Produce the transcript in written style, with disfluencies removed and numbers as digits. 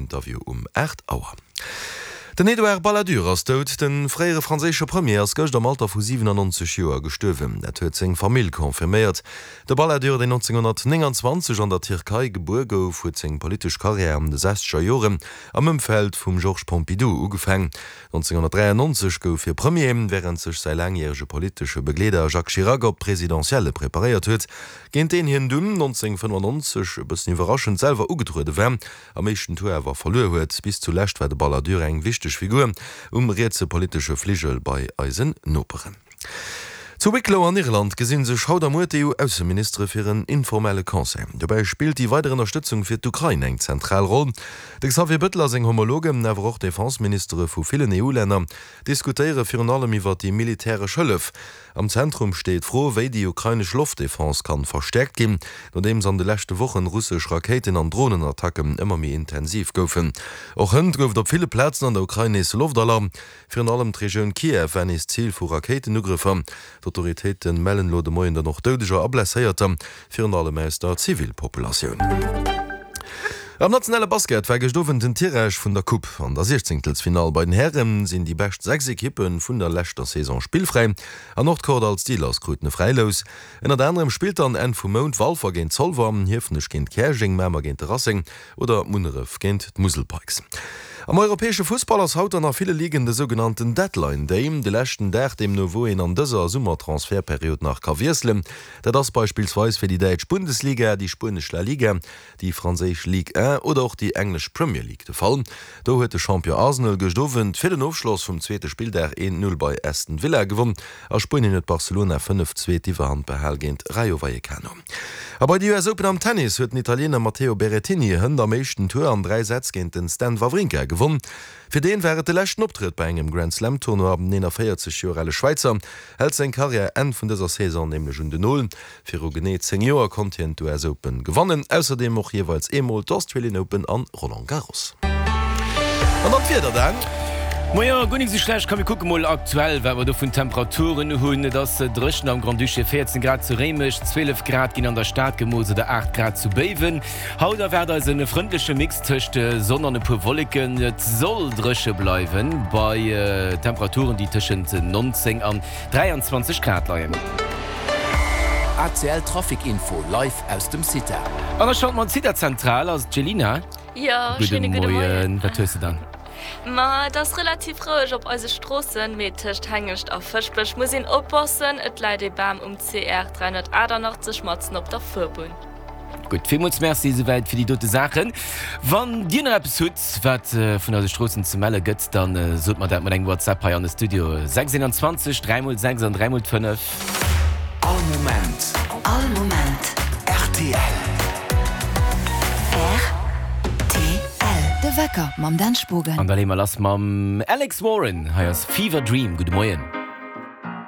Interview um 8 Auer. Den Edouard Balladur ass dout. De fréiere franséische Premier ass gëscht am Alter vu 97 Joer gestuerwen. Dat huet seng Famill confirméiert. De Balladur, deen 1929 an der Tierkei gebuer gouf, huet seng politesch Karriär an de sechzeger Joren am Ëmfeld vum Georges Pompidou ugefaang. 1993 gouf hie Premier, wärend sech säi laangjärege politesche Begleeder Jacques Chirac op d'Presidentielle preparéiert huet, géint deen hien dunn 1995 e bëssen iwwerraschend selwer ugetruede war, am éischten Tour awer verluer huet. Bis zulescht war de Balladur eng wichteg Figur um rietse politesche Fligel bei eisen Noperen. Zu Wicklow an Irland gesinn sech haut a muer d'EU-Ausseministere fir en informelle Conseil. Dobäi spillt déi weider Ënnerstëtzung fir d'Ukrain eng zentral Roll. De Xavier Bettel a seng Homologen, awer och d'Defenseministere vu villen EU-Länner, diskutéiere virun allem iwwer déi militäresch Hëllef. Am Zentrum steet d'Fro, wéi déi ukrainesch Loftdefense kann verstäerkt ginn, nodeems an de leschte Wochen russesch Rakéiten an Dronenattacken ëmmer méi intensiv goufen. Och hënt gouf et op ville Plazen an der Ukrain nees Loftalarm. Virun allem d'Regioun Kiew war nees Zil vu Rakéitenugrëffer. D'Autoritéite mellen elo de Moien dann och Doudeger a Blesséierter, virun allem aus der Zivilpopulatioun. Am nationale Basket war gëscht Owend den Tirage vun der Coupe. An der Siechzéngtelsfinall bei den Häre sinn déi bescht 6 Ekippe vun der leschter Saison spillfräi an och d'Kordall Steelers kruten e Fräilous. Ënnert anerem spillt dann Enn vum Mount Walfer géint Zolwer, Hiefenech géint Käerjeng, Mamer géint de Racing oder Munneref géint d'Musel Pikes. Am europäesche Fussball ass haut dann a ville Ligen de sougenannten Deadline Day, de leschten Dag deemno wou een an dëser Summertransfertperiod nach ka wiesselen. Dat ass beispillsweis fir déi däitsch Bundesliga, déi spuenesch La Liga, déi franséisch Ligue 1 oder och déi englesch Premier League de Fall. Do huet de Champion Arsenal gëscht Owend fir den Ofschloss vum zweete Spilldag 1, 0 bei Aston Villa gewonn. A Spuenien huet Barcelona 5, 2 d'Iwwerhand behal géint Rayo Vallecano. A bei de US Open am Tennis huet den Italiener Matteo Berrettini hënt am éischten Tour an 3 Sätz géint den Stan Wawrinka gewonn. Fir deen war et de leschten Optrëtt bei engem Grand Slam Tournoi. Den 41 Joer ale Schwäizer hält seng Karriär Enn vun dëser Saison nämlech un den Nol. Viru genee 10 Joer konnt hien d'US Open gewannen, ausserdeem och jeeweils eemol d'Australian Open an Roland Garros. An dann d'Wieder, Dan. Moien, guer nik sou schlecht. Komm mir kucke mol aktuell wat mer do vun Temperaturen hunn. Et ass dréchen am Grand-Duché, 14 Grad zu Réimech, 12 Grad ginn an der Stad gemooss oder 8 Grad zu Béiwen. Haut erwaart eis e frëndleche Mix tëscht Sonn an e puer Wolleken. Et soll dréche bleiwen bei Temperaturen déi tëschent 19 an 23 Grad leien. ACL Trafic Info live aus dem CITA. An der Schalt mat CITA Zentral ass d'Jelina. Jo, schéine gudde Moien. Wat hues de dann? Ma et ass relativ roueg op eise Stroossen, mee tëscht Hengescht a Fëschbech muss een oppassen, et läit ee Bam um CR 388 matzen op der Fuerbunn. Gutt, villmools Merci esouwäit fir déi dote Saachen. Wann Dir nach eppes hutt, wat vun eise Stroossen ze melle gëtt, da sot mer dat mat engem WhatsApp hei an de Studio 6 21 3 mol 6 an 3 mol 5. All Moment. All Moment. Rtl. Rtl. De Wecker mam Dan Spogen. An da leeë mer lass mam Alex Warren. Hei ass Fever Dream. Gudde Moien.